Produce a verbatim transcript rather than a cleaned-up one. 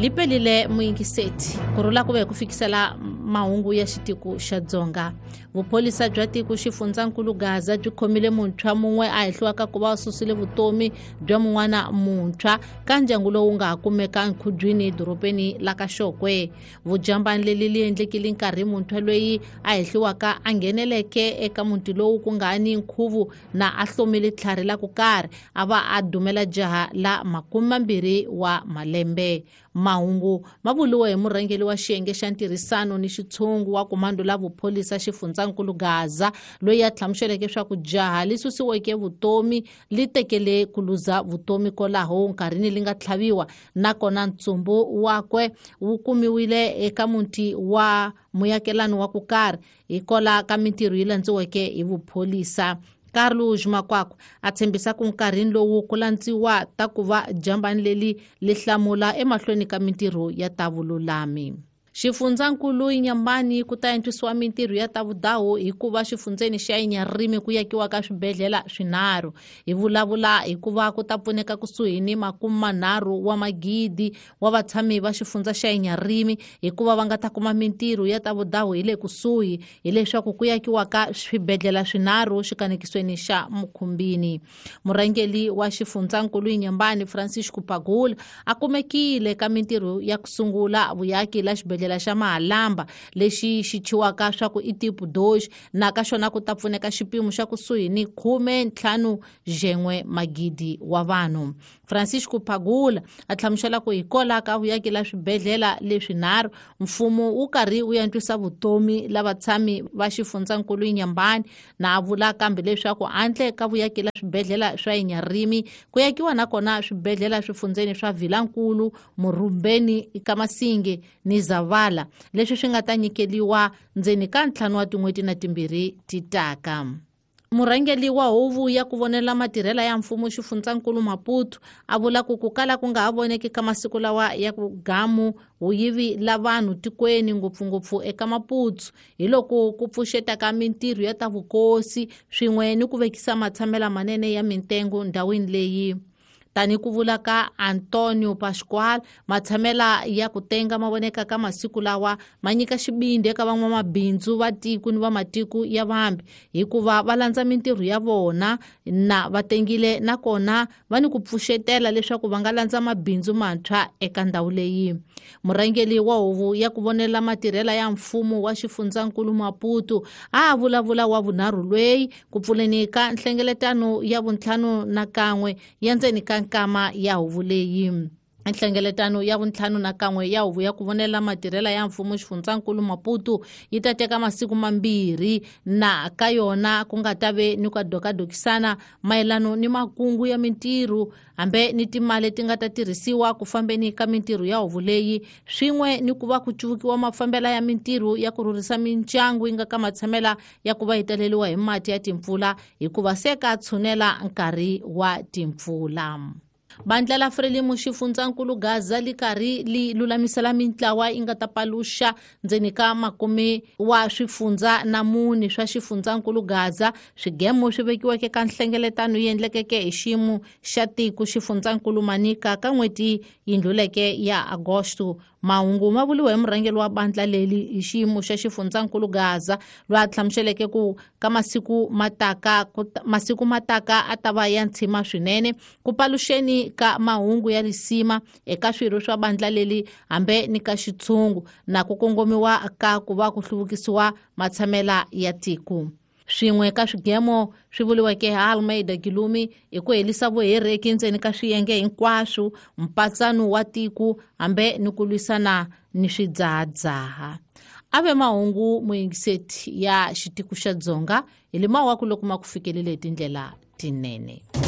Lipelile muyingiseti kurhula ku ve ku fikisela mahungu ya xitiko xa Dzonga. Vupholisa bya tiko xifundzankulu Gaza byi khomile muntshwa mun'we a hehliwaka ku va a susile vutomi bya mun'wana muntshwa ka ndyangu lowu nga ha kumeka enkhubyini dorobeni la ka Xokwe. Vujambani leli li endlekile nkarhi muntshwa loyi a hehliwaka a ngheneleke eka muti lowu ku nga ni nkhuvu na a hlomile tlhari la ku karhi a va a dumela jaha la makume mambirhi wa malembe. Mahungu ma vuriwe hi murhangeri wa xiyenge xa ntirhisano ni xitshungu wa komando la vupholisa xifundzankulu Gaza loyi a hlamuseleke swa ku jaha li susiweke vutomi li tekele ku luza vutomi kwalaho nkarhini li nga tlhaviwa nakona ntsumbu wakwe wu kumiwile eka muti wa muyakelani wa ku karhi hikola ka mintirho yi landziweke hi vupholisa. Carlos Makwakwa a tshembisa ku nkarhini lowu ku landziwa ta ku va jambani leli li hlamula emahlweni ka mintirho ya ta vululami. Xifundzankulu Inhambane ku ta antswisiwa mintirho ya ta vudawu hikuva xifundzeni xa Inharime ku yakiwa ka swibedhlele swinharhu. Hi vulavula hikuva ku ta pfuneka kusuhi ni makume manharhu wa magidi wa vatshami va xifundza xa Inharime hikuva va nga ta kuma mintirho ya ta vudawu hi le kusuhi hileswaku ku yakiwa ka swibedhlele swinharhu xikanekisweni xa Mukhumbini. Murhangeri wa xifundzankulu Inhambane Francisco Pagula a kumekile ka mintirho ya ku sungula vuyaki la xibedhlele xa Mahalamba lexi xi thyiwaka swa ku i tipo dois na ka xona ku ta pfuneka xipimo xa kusuhi ni khume ntlhanu jen'we magidi wa vanhu. Francisco Pagula a hlamusela ku hikola ka vuyaki la swibedhlele leswinharhu mfumo wu karhi wu antswisa vutomi la vatshami va xifundzankulu Inhambane na a vula kambe leswaku handle ka vuyaki la swibedhlele swa Inharime ku yakiwa nakona swibedhlele swifundzeni swa Vilankulu, Murumbeni, Kamasinge ni Zavala leswi swi nga ta nyikeliwa ndzeni ka ntlhanu wa tin'hweti na timbirhi ti taka. Murhangeri wa huvo ya ku vonela matirhela ya mfumo xifundzankulu Maputo a vula ku ku kala ku nga ha voneki ka masiku lawa ya ku gamu vuyivi la vanhu tikweni ngopfungopfu eka Maputo hi loko ku pfuxeta ka mintirho ya ta vukosi swin'we ni ku vekisa matshamela manene ya mintengo ndhawini leyi. Tani ku vula ka Antonio Pascual matshamela ya ku tenga ma voneka ka masiku lawa ma nyika xibindi eka van'wamabindzu va tiko ni va matiko ya vambi hikuva va landza mintirho ya vona na va tengile nakona va ni ku pfuxetela leswaku va nga landza mabindzu mantshwa eka ndhawu leyi. Murhangeri wa huvo ya ku vonela matirhela ya mfumo wa xifundzankulu Maputo a vulavula wa vunharhu lweyi ku pfuleni ka nhlengeletano ya vuntlhanu na kan'we ya ndzeni ka nkama ya huvo leyi. Nhlengeletano ya vuntlhanu na kan'we ya huvo ya ku vonela matirhela ya mfumo xifundzankulu Maputo yi ta teka masiku mambirhi na ka yona ku nga ta ve ni ku dokadokisana mayelano ni makungu ya mintirho hambe ni timali ti nga ta tirhisiwa ku fambeni ka mintirho ya huvo leyi swin'we ni ku va ku cuvukiwa mafambela ya mintirho ya ku rhurhisa mindyangu yi nga ka matshamela ya ku va yi taleriwa hi mati ya timpfula hikuva se ka tshunela nkarhi wa timpfula. Bandla la Frelimo xifundzankulu Gaza li karhi li lulamisela mintlawa yi nga ta paluxa ndzeni ka makume wa swifundza na mune swa xifundzankulu Gaza swigemo swi vekiweke ka nhlengeletano yi endlekeke hi xiyimo xa tiko xifundzankulu Manica ka n'hweti yi ndluleke ya Agosto. Mahungu ma vuriwe hi murhangeri wa bandla leli hi xiyimo xa xifundzankulu Gaza loyi a hlamuseleke ku ka masiku mataka masiku mataka a ta va ya ntshima swinene ku paluxeni ka mahungu ya risima eka swirho swa bandla leli hambe ni ka xitshungu na ku kongomiwa ka ku va ku hluvukisiwa matshamela ya tiko. Swin'we ka swigemo swi vuriweke hi Almeida Gilumi hi ku herisa vuhereki ndzeni ka swiyenge hinkwaswo mpatsano wa tiko hambe ni ku lwisana ni swidzahadzaha. A ve mahungu muyingiseti ya xitiko xa Dzonga hi lemawaku loko ma ku fikelele hi tindlela tinene.